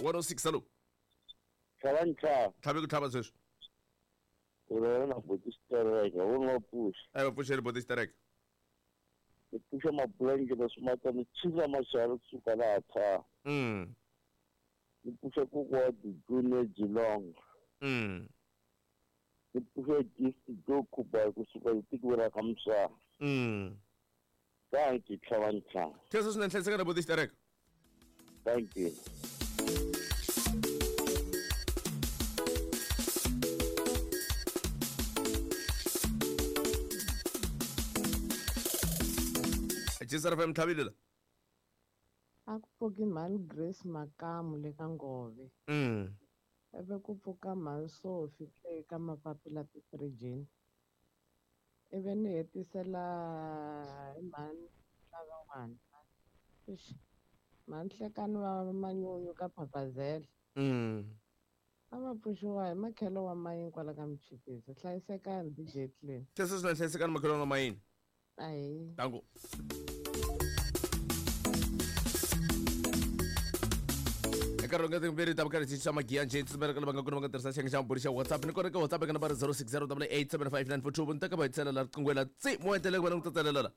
106 hello. Tlhavantlha. Tlhabe ku tlhava sweswi. U rona na boti xitereka wu nga pfuxa. A va pfuxeli boti xitereka. Ni pfuxa mabulangi na swimatana chila maxalo kusuka laha tha. Ni pfuxa kokwa wa Dijune Jilong. Ni pfuxa Gift Jokuba kusuka etikweni ra ka Muswana. Thank you, Tlhavantlha. Khensa swinene, hlayiseka na boti xitereka. Thank you. Jisara FM tlhavile la. A ku pfuki mhani Grace Makamu le ka Ngove. Ivi ku pfuka mhani Sophie le ka Mapapila Tifirijini. Ivi ni hetisela hi mhani lavan'wana. Eish. Mhani Hlekani va Manyunyu ka Phaphazela. A va pfuxiwa hi makhelo wa mayini kwala ka Muchipisi. Hlayisekani DJ Clean. Khensa swinene, hlayisekani makhelo wa mayini. Ahee. Danko. Eka ronga timbirhi ta vukarhi xa magiya njhe tsumela ka lava nga kona va nga tirhisa xiyenge xa mabulu xa WhatsApp ni kona ka WhatsApp eka nambara 0608875942 vunta ka va hetisela la riqingho la tsi mo hetelela ku va na ku tsatselela la.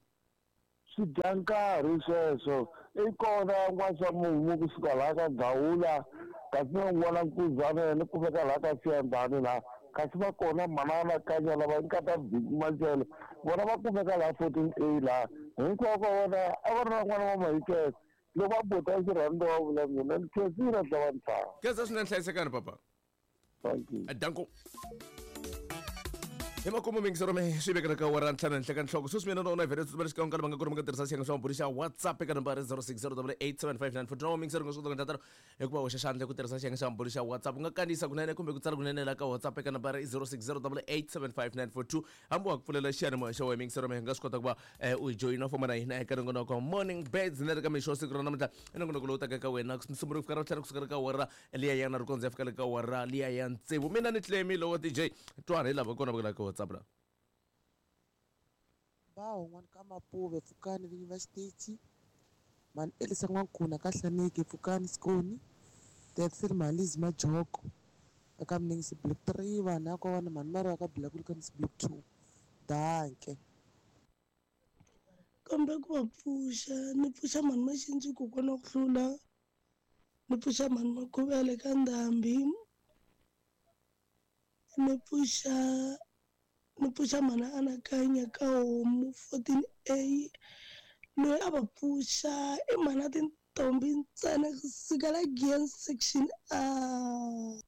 Swi dya nkarhi sweswo i kona n'waxa mumu kusuka laha ka Gawula kasi na un'wana nkuzana yena kumeka laha ka Siyandhani laha kasi va kona manana Kanya lava nkata Machele vona va kumeka laha 14A laha hinkwavo ka vona a va ri na n'wana wa Mahikese loko va bota xirhando wa vula mina ni khensile Tlhavantlha. Khensa swinene, hlayisekani papa. Thank you. Danko. Hi makumu mingisero me swi vekela ka wara ntlhanu henhla ka nhloko sweswi mina na wona vhele tsutsumela xikan'we ka lava nga kona va nga tirhisa xiyenge xa mabulu xa WhatsApp eka nambara 0608875942 na mingisero nga swi kota ku endla tano hikuva hoxa xandla ku tirhisa xiyenge xa mabulu xa WhatsApp u nga kandziyisa kunene kumbe ku tsala kunene la ka WhatsApp eka nambara 0608875942 hambi wa ku pfulela xiyanimoya xa wena mingisero me nga swi kota ku va u hi joyina famba na hina eka nongonoko wa Morning Birds na le ka mixo wa siku ra namuntlha i nongonoko lowu taka eka wena Musumbunuko fika Ravuntlhanu kusuka ka wara liya ya na rikondzo ya fika le ka wara liya ya tsevu mina ni Clemi lowa DJ twana hi lava kona va ka WhatsApp la. Bawo n'wana ka Mapuve pfukani vinyi va xitichi mhani Elisa N'wankuna ka Hlaneki pfukani Skoni Daxel Malizi Majoko eka Mningisi Block 3 vanhu ya kona mhani Mariwa ka Black Block 2 danke. Kambe ku va pfuxa ni pfuxa mhani Maxindzi kokwana ku hlula ni pfuxa mhani Makhuvele ka Ndhambi ni pfuxa mhani Anakanya ka Homu 14A loyi a va pfuxa i mhani tintombi ntsena kusukela Giant section A.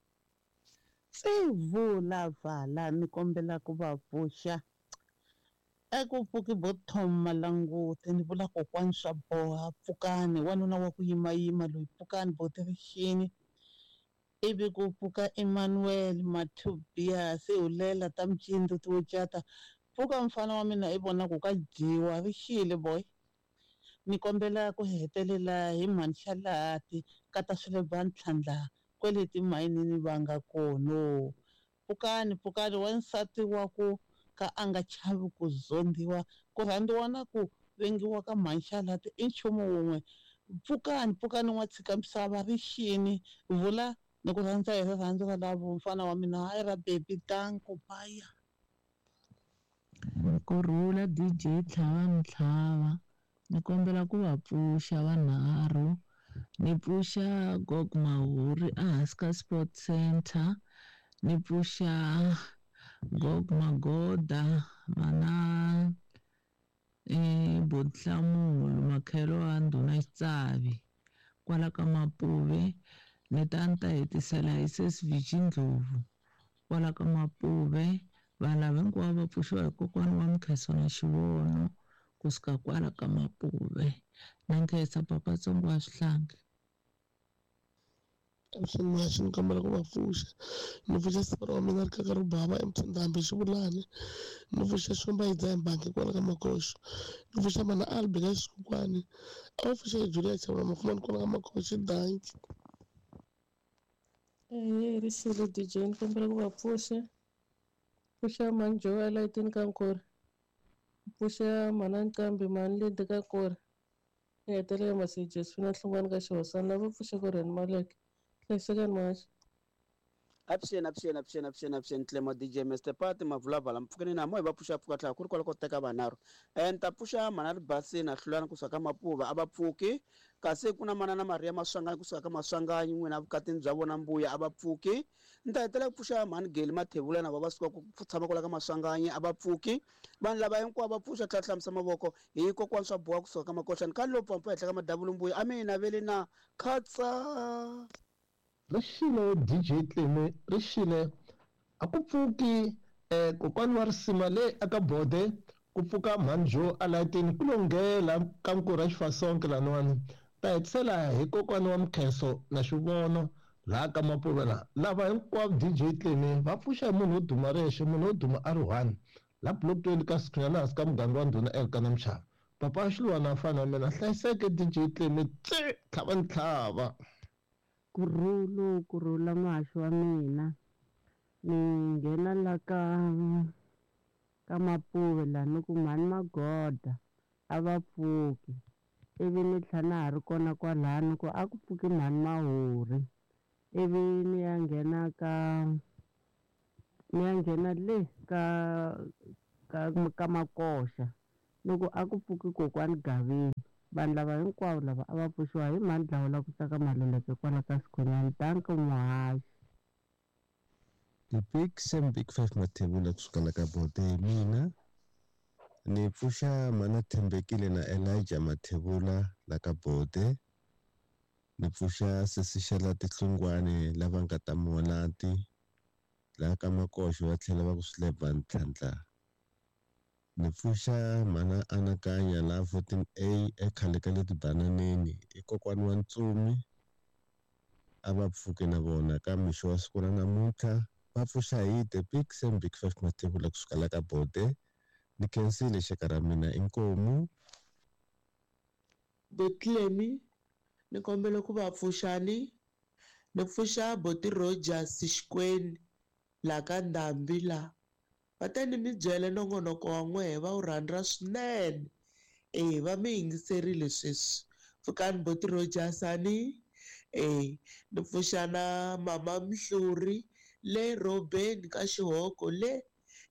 Tsivula vala ni kombela ku va pfuxa eku pfuki bo Tom Malanguti ni vula kokwani swa boha pfukani wanuna wa ku yimayima loyi pfukani bo tirixini ivi ku pfuka Emmanuel Mathubias hulela ta mcindzu ti wucata pfuka mfana wa mina i vona ku ka dyiwa rixile boy ni kombela ku hetelela hi mhani Xalati ka ta swile va ntlhandla kwele timayinini va nga kono pfukani pfukani wansati wa ku ka a nga chavi ku zondiwa ku rhandziwa na ku vengiwa ka mhani Xalati i nchumu wun'we pfukani pfukani n'wa tshika misava rixini vula ni ku rhandza hi rirhandzu ra lavo mfana wa mina hayi ra baby danko baya. Kurhula DJ Tlhavantlhava ni kombela ku va pfuxa vanharhu ni pfuxa Gog Mahuri ehansi ka Sport Center ni pfuxa Gog Magoda mana Bodhlamulo makhelo wa ndhuna Xitsavi kwala ka Mapuve ni ta ni ta hetisela hi Sesi Viji Ndlovu kwala ka Mapuve vanhu lava hinkwavo va pfuxiwa hi kokwana wa Mkheso na Xivono kusuka kwala ka Mapuve na nkhensa papa Tsongo wa Swihlangi. Swimaxi ni kombela ku va pfuxa ni pfuxa siku ra mina ri kaka ri bava eMthandambi Xivulani ni pfuxa Xomba yi dzaha bangi kwala ka Makoxo ni pfuxa mana Albi ka Xikukwani a va pfuxa Julia Chavula Mafumani kwala ka Makoxo danki. Rixile DJ ni kombela ku va pfuxa pfuxa mhani Joel etini ka Nkori pfuxa mhana Nqambi mhani Lindi ka Nkori ni hetelela Masi Jesfina Hlungwani ka Xihosana lava pfuxa ku Reni Maleke. Hlayisekani muhaxi. Avuxeni, avuxeni, avuxeni, avuxeni, avuxeni, Tlemo DJ Mr Pati Mavulavala, mpfukeni na moya va pfuxa pfuka tlhela ku ri kwala ko teka vanharhu. Ni ta pfuxa mhana Ribasini na Hlulani kusuka ka Mapuva a va pfuki, kasi ku na manana Maria Maswanganyi kusuka ka Maswanganyi n'wina vukatini bya vona mbuya a va pfuki. Ni ta hetelela ku pfuxa mhani Geli Mathebula na va va suka ku tshama kwala ka Maswanganyi a va pfuki. Vanhu lava hinkwavo va pfuxa tlhela hlamusa mavoko hi kokwani swa boha kusuka ka Makoxani ka lo pfampa henhla ka madavulu mbuya a mi naveli na khatsa. Ri xile DJ Tleme ri xile a ku pfuki kokwani wa risima le aka bode ku pfuka mhani Joe a layitini ku lo nghela ka nkurha xifasonke laniwani ta hetisela hi kokwani wa Mkhenso na xivono laha ka Mapuve la lava hinkwavo DJ Tleme va pfuxa hi munhu wo duma rexe munhu wo duma a ri one la block 20 ka Sikhunyana hansi ka muganga wa ndhuna Elkana Mchava papa wa Xiluwana a fana na mina hlayiseke DJ Tleme tse tlhava ni tlhava. Kurhulu kurhula muhaxi wa mina ni nghena la ka Mapuve la ni ku mhani Magoda a va pfuki ivi ni tlhela na ha ri kona kwalano ni ku a ku pfuki mhani Mahuri ivi ni ya nghena ka ni ya nghena le ka Makoxa ni ku a ku pfuki kokwani Gavini. Vanhu lava hinkwavo lava a va pfuxiwa hi mhani Dlawula ku tsaka Maluleke kwala ka Sikhunyani. Danko muhaxi. The big Sam Big Five Mathebula kusuka la ka Bode hi mina ni pfuxa mana Thembekile na Elijah Mathebula la ka Bode ni pfuxa sesi Xela Tihlungwane lava nga ta Muwanati la ka Makoxo va tlhela va ku Swilebva Ntlhantlha ni pfuxa mana Anakanya la 14A ekhale ka le tibananeni i kokwani wa Ntsumi a va pfuke na vona ka mixo wa siku ra namuntlha va pfuxa hi The Big Sam Big Five Mathebula kusuka la ka Bode ni khensile xaka ra mina inkomu. Botlemi ni kombela ku va pfuxani ni pfuxa Boti Rogers Xikwenu la ka Ndhambi la va ta ni mi byela nongonoko wa n'wehe va wu rhandza swinene va mi yingiserile sweswi pfukani Boti Rogers ani ni pfuxa na mama Mhluri le Robeni ka Xihoko le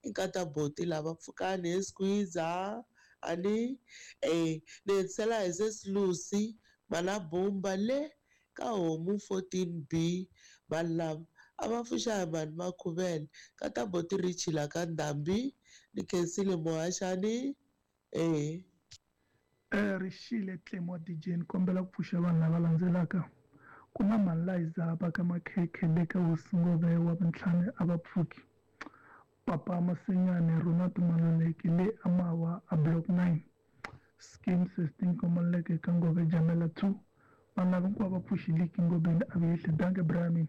inkata Boti lava pfukani hi squeezer ani ni hetisela hi sesi Lucy mana Bumba le ka Homu 14B vanhu lava a va pfuxa hi mhani Makhuvele kata Boti Richi la ka Ndhambi ni khensile muhaxani. Rixile Tlemo DJ ni kombela ku pfuxa vanhu lava landzelaka ku na mhani Liza va ka Makhekhe le ka Hosingove wa vuntlhanu a va pfuki Papa Masenyane Ronald Maluleke le Amawa a Block 9 Scheme 16 Komaleke ka Ngove Jamela 2 vanhu lava hinkwavo va pfuxiliki Ngobeni a vuyehli danke Brahmin.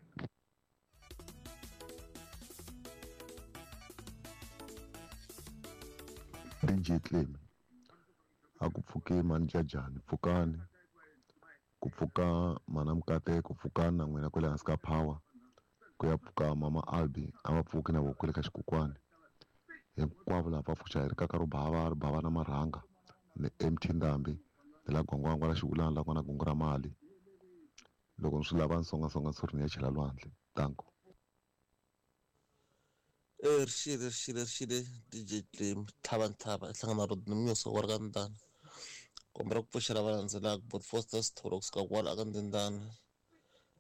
DJ Tlemi a ku pfuki mhani Jajani pfukani ku pfuka mana Mukateko pfukani na n'wina kwale hansi ka power ku ya pfuka mama Albi a va pfuki na voko kwale ka xikokwani hinkwavo lava va pfuxa hi rikaka ro bava ri bava na marhanga ni MT Ndhambi ni la Gwangwangwa la Xivulana la kona gungu ra mali loko ni swi lava ni songasonga nsuri ni ya chela lwandle danko. Rixile rixile rixile DJ Tlemi tlhava ntlhava hlangana Rodney Mnyuso wa ri ka Ndana kombela ku pfuxela va landzelaka Bot Foster Sithole kusuka kwala aka Ndindana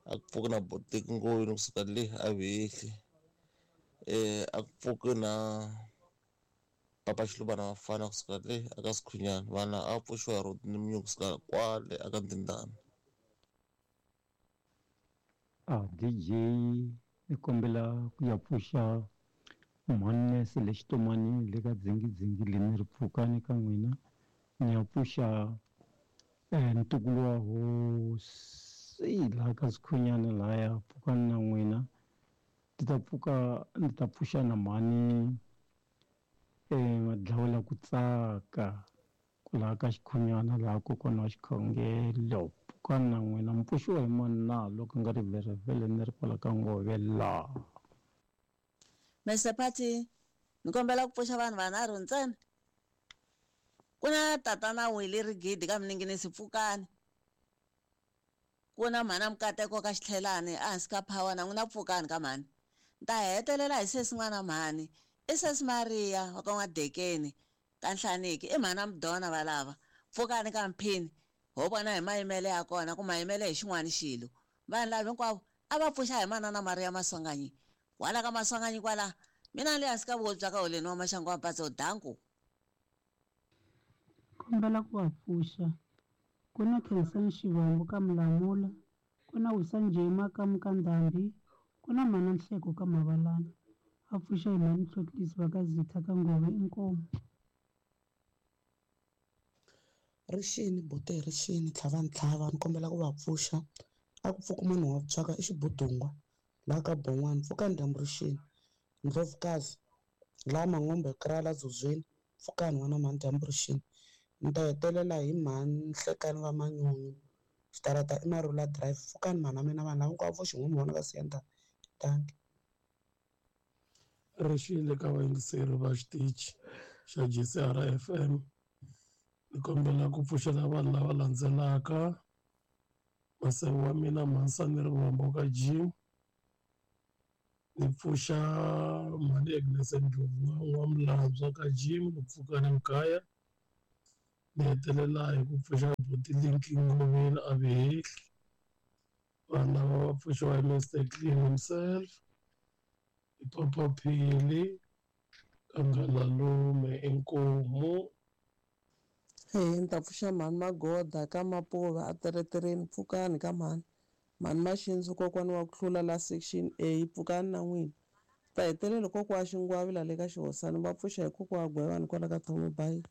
a ku pfuki na Botiki Ngoyini kusuka le a Vehli a ku pfuki na Papa Xiluvana Vafana kusuka le aka Sikhunyana vana a pfuxiwa hi Rodney Mnyuso kusuka kwale aka Ndindana. DJ ni kombela ku ya pfuxa mhani le Xitomani le ka dzingidzingi le ni ri pfukani ka n'wina ni ya pfuxa ntukulu wa hosi laha ka Sikhunyana lahaya pfukani na n'wina ndzi ta pfuka ndzi ta pfuxa na mhani Madlawula ku tsaka laha ka Xikhunyana laha kokwana wa xikhongelo pfukani na n'wina mi pfuxiwa hi mani na loko nga ri vherevhele ni ri kwala ka Ngove laha. Mr Pati ni kombela ku pfuxa vanhu vanharhu ntsena ku na tatana Wili Rigidi ka Mininginisi pfukani. Ku na mhana Mukateko ka Xitlhelani ehansi ka Power na n'wina pfukani ka mhani. Ni ta hetelela hi sesi n'wana mhani. I sesi Mariya wa ka N'wadekeni ka Nhlaniki i mhana Mudona valava. Pfukani ka Mphini ho vona hi mayimele ya kona ku mayimele hi xin'wana xilo. Vanhu lava hinkwavo a va pfuxa hi manana Mariya Maswanganyi. Kwala ka Maswanganyi kwala mina ni le hansi ka vuhosi bya ka Holeni wa Maxangu wa Mpatso danku. Kombela ku va pfuxa. Ku na Khensani Xivambu ka Mulamula, ku na Wisa Njema ka Mukandhambi, ku na Mhana Nhleko ka Mavalana. Va pfuxa hi Mhani Tlhotlhisi va ka Zitha ka Ngove inkomu. Rixini buti rixini tlhava ntlhava ni kombela ku va pfuxa a ku pfuki munhu wa tswaka i xibudungwa laha ka bon'wana pfukani dyambu rixini ndlovukazi laha mangombe krala dzuzweni pfukani n'wana mhani dyambu rixini ni ta hetelela hi mhani Nhlekani va Manyunyu xitarata i Marula drive pfukani mhana mina vanhu lava hinkwavo vo xin'we mi vona va siya danki. Rixile ka vayingiseri va xitichi xa GCR FM ni kombela ku pfuxela vanhu lava landzelaka masewu wa mina mhansani Rivombo ka Jim ni pfuxa mhani Agnes Ndlovu n'wamilandzwa ka Jim ni pfuka ni Mkhaya ni hetelela hi ku pfuxa buti Linki Ngoveni a Vehehli vanhu lava va pfuxiwa hi Mr Clean himself hi Papa Phili Kangalalume inkomu. Eya ni ta pfuxa mhani Magoda ka Mapuva a teretereni pfukani ka mhani mhani Maxindzu kokwani wa ku hlula la section A pfukani na n'wina ta hetelela kokwa Xingwavi la le ka Xihosana va pfuxa hi kokwa Gwevani kwala ka Thomo bayi.